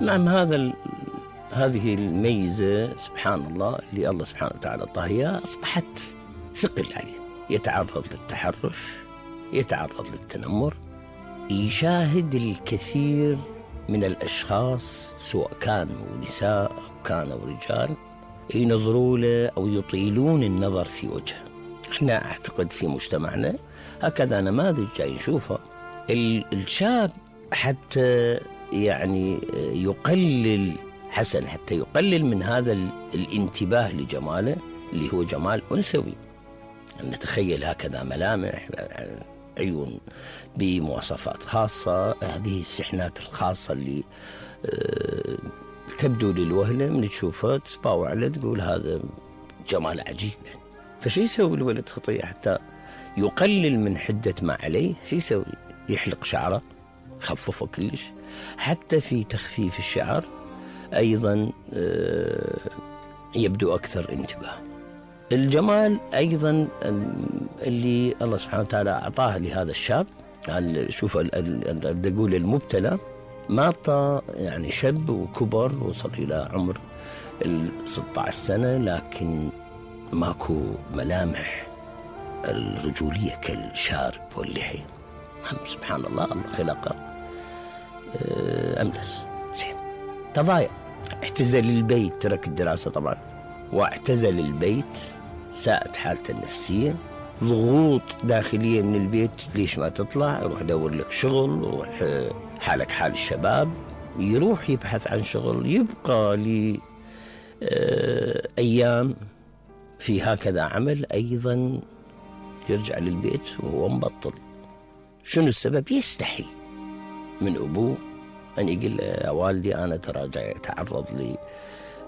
نعم، هذه الميزة سبحان الله اللي الله سبحانه وتعالى اعطاها، أصبحت ثقل عليه. يتعرض للتحرش، يتعرض للتنمر، يشاهد الكثير من الأشخاص سواء كانوا نساء أو كانوا رجال ينظروا له أو يطيلون النظر في وجهه. احنا أعتقد في مجتمعنا هكذا نماذج جاي نشوفها. الشاب حتى يعني يقلل حسن، حتى يقلل من هذا الانتباه لجماله اللي هو جمال أنثوي. نتخيل هكذا ملامح، عيون بمواصفات خاصة، هذه السحنات الخاصة اللي تبدو للوهلة من تشوفها تسباوع عليه تقول هذا جمال عجيب. فشي يسوي الولد خطية حتى يقلل من حدة ما عليه؟ شي يسوي؟ يحلق شعره، خففه كلش. حتى في تخفيف الشعر أيضا يبدو أكثر انتباه. الجمال أيضا اللي الله سبحانه وتعالى أعطاه لهذا الشاب، شوف بدي أقول المبتلى ما أعطى يعني شاب وكبر وصل إلى عمر 16 سنة لكن ماكو ملامح الرجولية كالشارب واللحي. سبحان الله، الله خلقه أملس زين. تضايق، اعتزل البيت، ترك الدراسة طبعا واعتزل البيت، ساءت حالته النفسية، ضغوط داخلية من البيت، ليش ما تطلع؟ يروح يدور لك شغل، يروح حالك حال الشباب، يروح يبحث عن شغل، يبقى أيام في هكذا عمل، أيضا يرجع للبيت وهو مبطل. شنو السبب؟ يستحي من أبوه أن يقول يا والدي أنا ترى جاي أتعرض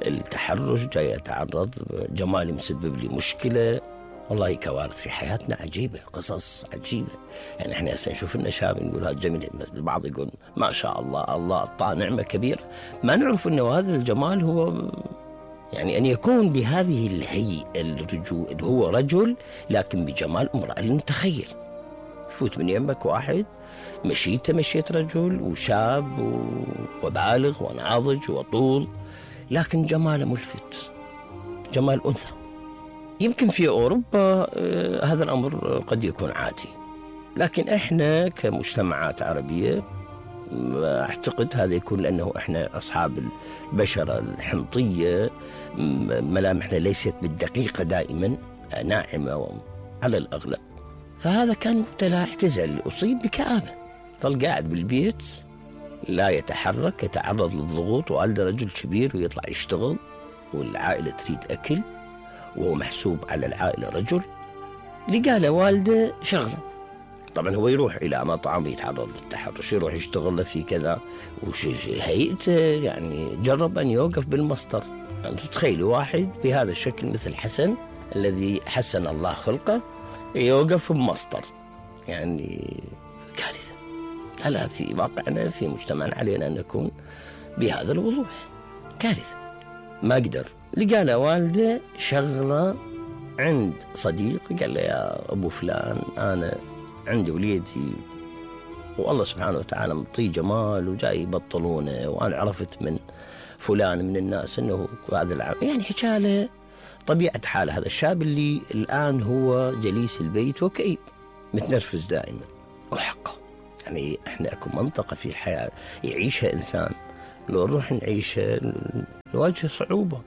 للتحرش، جاي أتعرض، جمالي مسبب لي مشكلة. والله كوارث في حياتنا عجيبة، قصص عجيبة. يعني احنا هسه نشوف لنا شاب نقول هذا جميل، البعض يقول ما شاء الله، الله أعطاه نعمة كبيرة. ما نعرف أنه هذا الجمال هو يعني أن يكون بهذه الهيئة الرجول، هو رجل لكن بجمال امرأة. المتخيل فوت من يمك واحد مشيت رجل وشاب وبالغ وناضج وطول، لكن جماله ملفت، جمال أنثى. يمكن في أوروبا هذا الأمر قد يكون عادي، لكن إحنا كمجتمعات عربية أعتقد هذا يكون لأنه إحنا أصحاب البشرة الحنطية، ملامحنا ليست بالدقيقة دائما، ناعمة على الأغلب. فهذا كان مبتلى، اعتزل، أصيب بكآبة، ظل قاعد بالبيت لا يتحرك، يتعرض للضغوط، والده رجل كبير ويطلع يشتغل والعائلة تريد أكل وهو محسوب على العائلة رجل. لقى له والده شغله، طبعا هو يروح إلى مطعم يتعرض للتحرش، يروح يشتغل له في كذا هيئته، يعني جرب أن يوقف بالمسطر. يعني تتخيلوا واحد بهذا الشكل مثل حسن الذي حسن الله خلقه يوقف بمسطر، يعني كارثة. لا في واقعنا في مجتمعنا علينا أن نكون بهذا الوضوح، كارثة. ما قدر، لقى له والده شغله عند صديق، قال له يا أبو فلان أنا عندي وليدي والله سبحانه وتعالى مطيه جمال وجاي يبطلونه، وأنا عرفت من فلان من الناس أنه هذا العام، يعني حكاله طبيعة حال هذا الشاب اللي الآن هو جليس البيت وكئيب متنرفز دائما. وحقه يعني احنا اكو منطقة في الحياة يعيشها إنسان، لو نروح نعيشها نواجه صعوبة.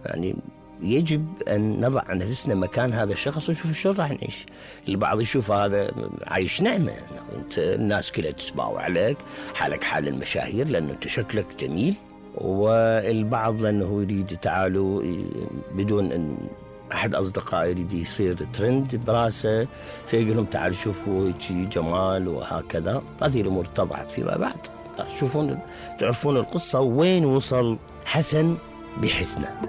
يعني يجب أن نضع نفسنا مكان هذا الشخص ونشوف شلون راح نعيش. البعض يشوف هذا عايش نعمة، انت الناس كلها تسباوع عليك، حالك حال المشاهير لأنه انت شكلك جميل، والبعض لأنه يريد تعالوا بدون أن أحد أصدقائي يريد يصير ترند براسه فيقول لهم تعالوا شوفوا هيك جمال وهكذا. هذه الأمور اتضحت فيما بعد، تعرفون القصة وين وصل حسن بحسنه.